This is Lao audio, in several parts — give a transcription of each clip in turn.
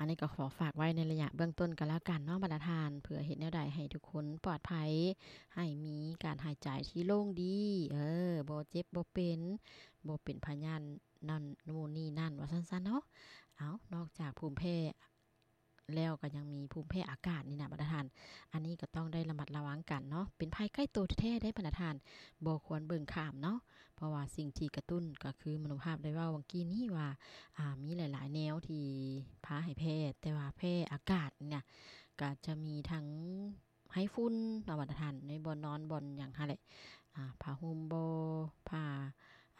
ນີ້ກໍຂໍຝາກໄວ້ໃນໄລຍະເບື້ອງຕົ້ນກໍແລ້ວກັນເນາະ ບັນດາທ່ານ, ເພື່ອເຮັດແນວໃດໃຫ້ທຸກຄົນປອດໄພ, ໃຫ້ມີການຫາຍໃຈທີ່ໂລ່ງດີ, ເອີ, ບໍ່ເຈັບບໍ່ເປັນ, ບໍ່ເປັນພະຍາດນັ້ນ ໂນ່ນນີ້ນັ້ນ ວ່າຊັ້ນຊະເນາະ. ເອົາ, ນອກຈາກພູມແພ້ ແລ້ວກໍຍັງມີພູມແພ້ອາກາດນີ້ນະ ບັນດາທ່ານ, ອັນນີ້ກໍຕ້ອງໄດ້ລະມັດລະວັງກັນເນາະ, ເປັນໄພໃກ້ໂຕແທ້ໆເດ້ ບັນດາທ່ານ, ບໍ່ຄວນເບິ່ງຂ້າມເນາະ, ເພາະວ່າສິ່ງທີ່ກະຕຸ້ນກໍຄືມະໂນພາບໄດ້ເວົ້າຫວ່າງກີ້ນີ້ວ່າ ອາ ມີຫຼາຍໆແນວທີ່ພາໃຫ້ແພ້, ແຕ່ວ່າແພ້ອາກາດນີ້ນະ ກໍຈະມີທັງໄຮຝຸ່ນເນາະ ບັນດາທ່ານ, ໃນບ່ອນນອນບ່ອນຫຍັງຫັ້ນແຫຼະ, ອາ ຜ້າຫົ່ມບໍ, ຜ້າ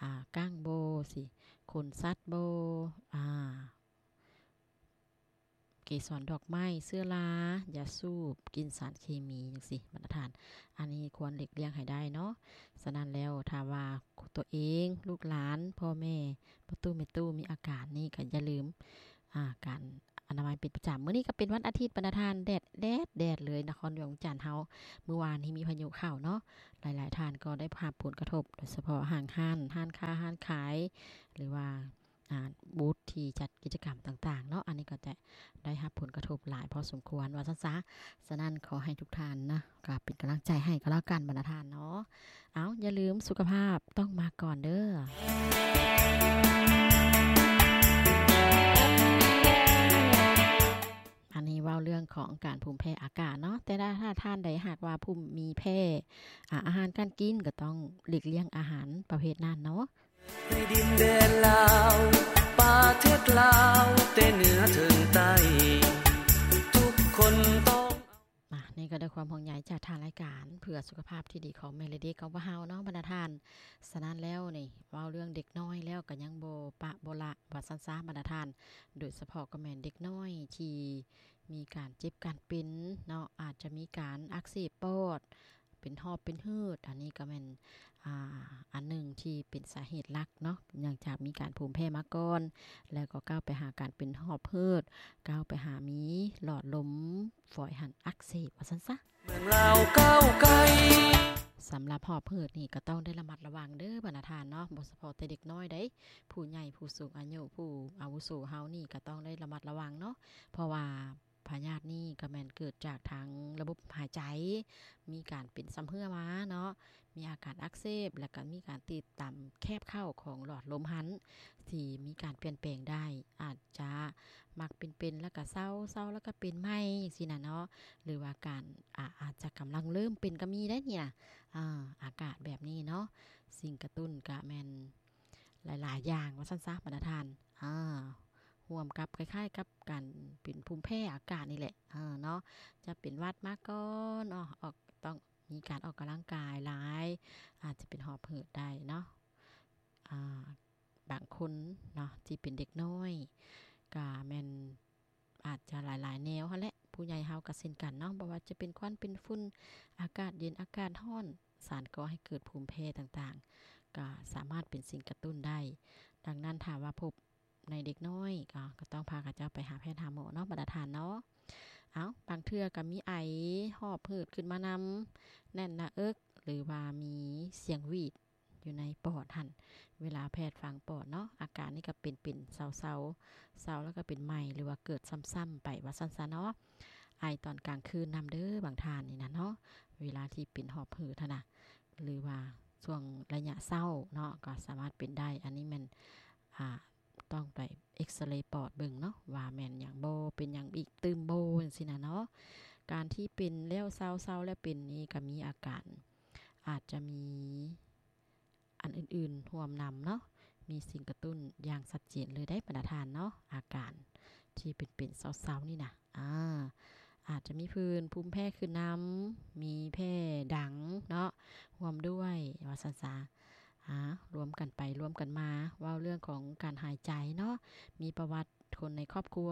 ອາ ກ້າງບໍ, ຊິ ຂົນສັດບໍ, ອາ ເກສອນດອກໄມ້, ເຊື້ອລາ, ຢາສູບ, ກິ່ນສານເຄມີ ຈັ່ງຊີ້ ບັນດາທ່ານ, ອັນນີ້ຄວນຫຼີກລ່ຽງໃຫ້ໄດ້ເນາະ. ສະນັ້ນແລ້ວ ຖ້າວ່າຕົວເອງ, ລູກຫຼານ, ພໍ່ແມ່, ພໍ່ຕູ້ແມ່ຕູ້ມີອາການນີ້ ກໍຢ່າລືມ ອາ ການອະນາໄມເປັນປະຈຳ. ມື້ນີ້ກໍເປັນວັນອາທິດ ບັນດາທ່ານ, ແດດ ແດດ ແດດເລີຍ ນະຄອນຫຼວງວຽງຈັນເຮົາ. ມື້ວານນີ້ມີພາຍຸເຂົ້າເນາະ, ຫຼາຍໆທ່ານກໍໄດ້ຮັບຜົນກະທົບ, ໂດຍສະເພາະຫ້າງຮ້ານ, ຮ້ານຄ້າ, ຮ້ານຂາຍ ຫຼືວ່າ ອາ ບູດທີ່ຈັດກິດຈະກຳຕ່າງໆເນາະ, ອັນນີ້ກໍຈະໄດ້ຮັບຜົນກະທົບຫຼາຍພໍສົມຄວນ ວ່າຊັ້ນຊະ. ສະນັ້ນ ຂໍໃຫ້ທຸກທ່ານນະ ກໍເປັນກຳລັງໃຈໃຫ້ກໍແລ້ວກັນ ບັນດາທ່ານເນາະ. ເອົາ, ຢ່າລືມ ສຸຂະພາບຕ້ອງມາກ່ອນເດີ້. ອັນນີ້ເວົ້າເລື່ອງຂອງການພູມແພ້ອາກາດເນາະ, ແຕ່ຖ້າທ່ານໃດຫາກວ່າພູມ ມີແພ້ ອາ ອາຫານການກິນ ກໍຕ້ອງຫຼີກລ່ຽງອາຫານປະເພດນັ້ນເນາະ. ໃນດິນແດນລາວ ປະເທດລາວ ແຕ່ເໜືອເຖິງໃຕ້ ທຸກຄົນຕ້ອງ ມາ ນີ້ກໍດ້ວຍຄວາມຫ່ວງໃຍຈາກທາງລາຍການ ເພື່ອສຸຂະພາບທີ່ດີຂອງແມ່ ແລະ ເດັກຂອງພວກເຮົາເນາະ ບັນດາທ່ານ. ສະນັ້ນແລ້ວນີ້ ເວົ້າເລື່ອງເດັກນ້ອຍແລ້ວກໍຍັງບໍ່ປະບໍ່ລະ ວ່າຊັ້ນຊະ ບັນດາທ່ານ, ໂດຍສະເພາະກໍແມ່ນເດັກນ້ອຍທີ່ມີການເຈັບການເປັນເນາະ, ອາດຈະມີການອັກເສບປອດ ເປັນຫອບເປັນເຫີດ, ອັນນີ້ກໍແມ່ນ ອາ ອັນໜຶ່ງທີ່ເປັນສາເຫດຫຼັກເນາະ, ເນື່ອງຈາກມີການພູມແພ້ມາກ່ອນ ແລ້ວກໍກ້າວໄປຫາການເປັນຫອບເຫີດ, ກ້າວໄປຫາມີຫຼອດລົມຝອຍຫັນອັກເສບ ວ່າຊັ້ນຊະ. ເມືອງລາວກ້າວໄກ ສຳລັບຫອບເຫີດນີ້ກໍຕ້ອງໄດ້ລະມັດລະວັງເດີ້ ບັນດາທ່ານເນາະ, ບໍ່ສະເພາະແຕ່ເດັກນ້ອຍໃດ, ຜູ້ໃຫຍ່, ຜູ້ສູງອາຍຸ, ຜູ້ອາວຸໂສເຮົານີ້ກໍຕ້ອງໄດ້ລະມັດລະວັງເນາະ, ເພາະວ່າ ພະຍາດນີ້ກໍແມ່ນເກີດຈາກທາງລະບົບຫາຍໃຈ ມີການເປັນຊຳເຮື້ອມາເນາະ, ມີອາການອັກເສບ ແລ້ວກໍມີການຕິດຕາມແຄບເຂົ້າຂອງຫຼອດລົມຫັ້ນ ທີ່ມີການປ່ຽນແປງໄດ້, ອາດຈະມັກເປັນໆ ແລ້ວກໍເຊົາ, ເຊົາແລ້ວກໍເປັນໃໝ່ ຈັ່ງຊີ້ນະເນາະ, ຫຼືວ່າການ ອາ ອາດຈະກຳລັງເລີ່ມເປັນກໍມີໄດ໋ນີ້ນະ, ອາ ອາກາດແບບນີ້ເນາະ, ສິ່ງກະຕຸ້ນກໍແມ່ນ ຫຼາຍໆຢ່າງວ່າຊັ້ນຊະ ບັນດາທ່ານ, ອາ ຮ່ວມກັບ ຄ້າຍໆກັບການເປັນພູມແພ້ອາກາດນີ້ແຫຼະ ເນາະ, ຈະເປັນຫວັດມາກ່ອນເນາະ, ອອກ ຕ້ອງມີການອອກກຳລັງກາຍຫຼາຍ, ອາດຈະເປັນຫອບເຫີດໄດ້ເນາະ, ອາ ບາງຄົນເນາະ ທີ່ເປັນເດັກນ້ອຍ ກະແມ່ນ ອາດຈະຫຼາຍໆແນວຫັ້ນແຫຼະ, ຜູ້ໃຫຍ່ເຮົາກໍເຊັ່ນກັນເນາະ, ບໍ່ວ່າຈະເປັນຄວັນເປັນຝຸ່ນ, ອາກາດເຢັນ, ອາກາດຮ້ອນ, ສານກໍ່ໃຫ້ເກີດພູມແພ້ຕ່າງໆ ກໍສາມາດເປັນສິ່ງກະຕຸ້ນໄດ້. ດັ່ງນັ້ນ ຖ້າວ່າພົບໃນເດັກນ້ອຍ ກໍ ກໍຕ້ອງພາເຂົາເຈົ້າໄປຫາແພດຫາໝໍເນາະ ບັນດາທ່ານເນາະ. ເອົ້າ, ບາງເທື່ອກໍມີໄອ, ຫອບຫືດຂຶ້ນມານຳ, ແໜ້ນໜ້າເອິກ ຫຼືວ່າມີສຽງຫວີດ ຢູ່ໃນປອດຫັ້ນ, ເວລາແພດຟັງປອດເນາະ, ອາການນີ້ກໍເປັນ ເປັນເຊົາໆ, ເຊົາແລ້ວກໍເປັນໃໝ່ ຫຼືວ່າເກີດຊ້ຳໆໄປວ່າຊັ້ນຊະເນາະ. ໄອຕອນກາງຄືນນຳເດີ້ບາງທ່ານນີ້ນະເນາະ, ເວລາທີ່ເປັນຫອບຫືດຫັ້ນນະ, ຫຼືວ່າຊ່ວງໄລຍະເຊົ້າເນາະ, ກໍສາມາດເປັນໄດ້. ອັນນີ້ແມ່ນ ອາ ຕ້ອງໄປເອັກສະເຣປອດເບິ່ງເນາະ ວ່າແມ່ນຫຍັງບໍ່, ເປັນຫຍັງອີກຕື່ມບໍ່ ຈັ່ງຊີ້ນະເນາະ. ການທີ່ເປັນແລ້ວເຊົາ, ເຊົາແລ້ວເປັນນີ້ກໍມີອາການ ອາດຈະມີ ອັນອື່ນໆຮ່ວມນຳເນາະ, ມີສິ່ງກະຕຸ້ນຢ່າງຊັດເຈນເລີຍໄດ໋ ບັນດາທ່ານເນາະ. ອາການທີ່ເປັນໆເຊົາໆນີ້ນະ ອາ ອາດຈະມີຜື່ນ, ພູມແພ້ຂຶ້ນນຳ, ມີແພ້ດັງເນາະ ຮ່ວມດ້ວຍວ່າຊັ້ນຊະ. ອາ ລວມກັນໄປລວມກັນມາ ເວົ້າເລື່ອງຂອງການຫາຍໃຈເນາະ, ມີປະຫວັດ ຄົນໃນຄອບຄົວ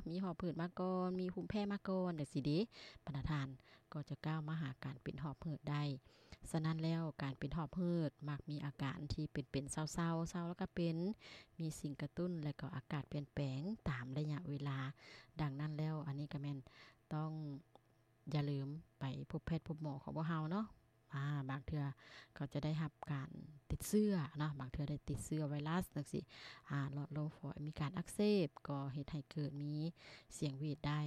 ມີຫອບຫືດມາກ່ອນ, ມີພູມແພ້ມາກ່ອນ ຈັ່ງຊີ້ເດ ບັນດາທ່ານ, ກໍຈະກ້າວມາຫາການເປັນຫອບຫືດໄດ້. ສະນັ້ນແລ້ວ ການເປັນຫອບຫືດມັກມີອາການທີ່ເປັນໆເຊົາໆ, ເຊົາແລ້ວກໍເປັນ, ມີສິ່ງກະຕຸ້ນ ແລະ ກໍອາກາດປ່ຽນແປງຕາມໄລຍະເວລາ. ດັ່ງນັ້ນແລ້ວ ອັນນີ້ກໍແມ່ນຕ້ອງຢ່າລືມໄປພົບແພດພົບໝໍຂອງພວກເຮົາເນາະ. ອາ ບາງເທື່ອກໍຈະໄດ້ຮັບການຕິດເຊື້ອເນາະ ບາງເທື່ອໄດ້ຕິດເຊື້ອໄວຣັສຈັ່ງຊີ້ ອາ ຫຼອດລົມຝອຍມີການອັກເສບ ກໍເຮັດໃຫ້ເກີດມີສຽງຫວີດໄດ້.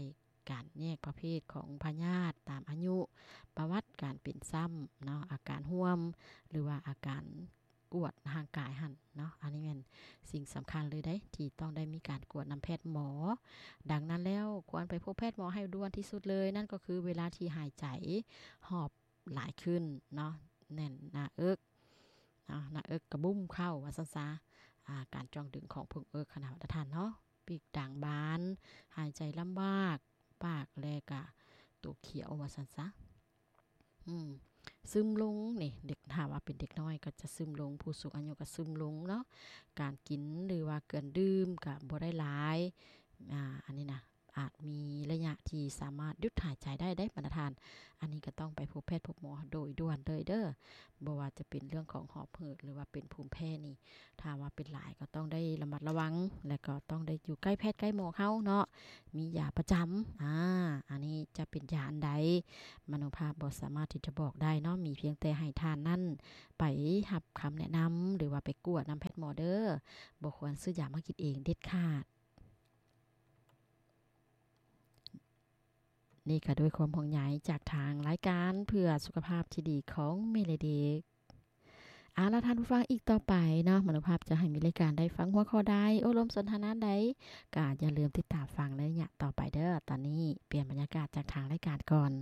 ການແຍກປະເພດຂອງພະຍາດຕາມອາຍຸ, ປະຫວັດການເປັນຊ້ຳເນາະ, ອາການຮ່ວມ ຫຼືວ່າອາການກວດຮ່າງກາຍຫັ້ນເນາະ, ອັນນີ້ແມ່ນສິ່ງສຳຄັນເລີຍເດ້ ທີ່ຕ້ອງໄດ້ມີການກວດນຳແພດໝໍ. ດັ່ງນັ້ນແລ້ວ ຄວນໄປພົບແພດໝໍໃຫ້ດ່ວນທີ່ສຸດເລີຍ, ນັ້ນກໍຄືເວລາທີ່ຫາຍໃຈຫອບຫຼາຍຂຶ້ນເນາະ, ແໜ້ນໜ້າເອິກເນາະ, ໜ້າເອິກກະບຸ້ມເຂົ້າວ່າຊັ້ນຊະ, ອາ ການຈ່ອງດຶງຂອງເພິ່ງເອິກຫັ້ນນະທ່ານເນາະ. ປີກດາງບານ, ຫາຍໃຈລຳບາກ, ປາກ ແລະກະໂຕຂຽວວ່າຊັ້ນຊະ. ອືມ ຊຶມລົງນີ້ ເດັກ ຖ້າວ່າເປັນເດັກນ້ອຍກໍຈະຊຶມລົງ, ຜູ້ສູງອາຍຸກໍຊຶມລົງເນາະ. ການກິນ ຫຼືວ່າການດື່ມກໍບໍ່ໄດ້ຫຼາຍ. ອາ ອັນນີ້ນະ ອາດມີໄລຍະທີ່ສາມາດຢຸດຫາຍໃຈໄດ້ເດ້ບັນດາທ່ານ. ອັນນີ້ກໍຕ້ອງໄປພົບແພດພົບໝໍໂດຍດ່ວນເລີຍເດີ. ບໍ່ວ່າຈະເປັນເລື່ອງຂອງຫອບເຫີດ ຫຼືວ່າເປັນພູມແພ້ນີ້ ຖ້າວ່າເປັນຫຼາຍກໍຕ້ອງໄດ້ລະມັດລະວັງ ແລະກໍຕ້ອງໄດ້ຢູ່ໃກ້ແພດໃກ້ໝໍເຮົາເນາະ, ມີຢາປະຈຳ. ອາ ອັນນີ້ຈະເປັນຢາອັນໃດ ມະໂນພາບບໍ່ສາມາດທີ່ຈະບອກໄດ້ເນາະ, ມີພຽງແຕ່ໃຫ້ທ່ານນັ້ນໄປຮັບຄຳແນະນຳ ຫຼືວ່າໄປກວດນຳແພດໝໍເດີ, ບໍ່ຄວນຊື້ຢາມາກິນເອງເດັດຂາດ. ນີ້ກໍດ້ວຍຄວາມຫ່ວງໃຍຈາກທາງລາຍການເພື່ອສຸຂະພາບທີ່ດີຂອງແມ່ ແລະ ເດັກ. ເອົາລະທ່ານຜູ້ຟັງ, ອີກຕໍ່ໄປເນາະ ມະໂນພາບຈະໃຫ້ມີລາຍການໃດ ຟັງຫົວຂໍ້ໃດ ໂອ້ລົມສົນທະນາໃດ ກໍຢ່າລືມຕິດຕາມຟັງໃນໄລຍະຕໍ່ໄປເດີ. ຕອນນີ້ປ່ຽນບັນຍາກາດຈາກທາງລາຍການກ່ອນ.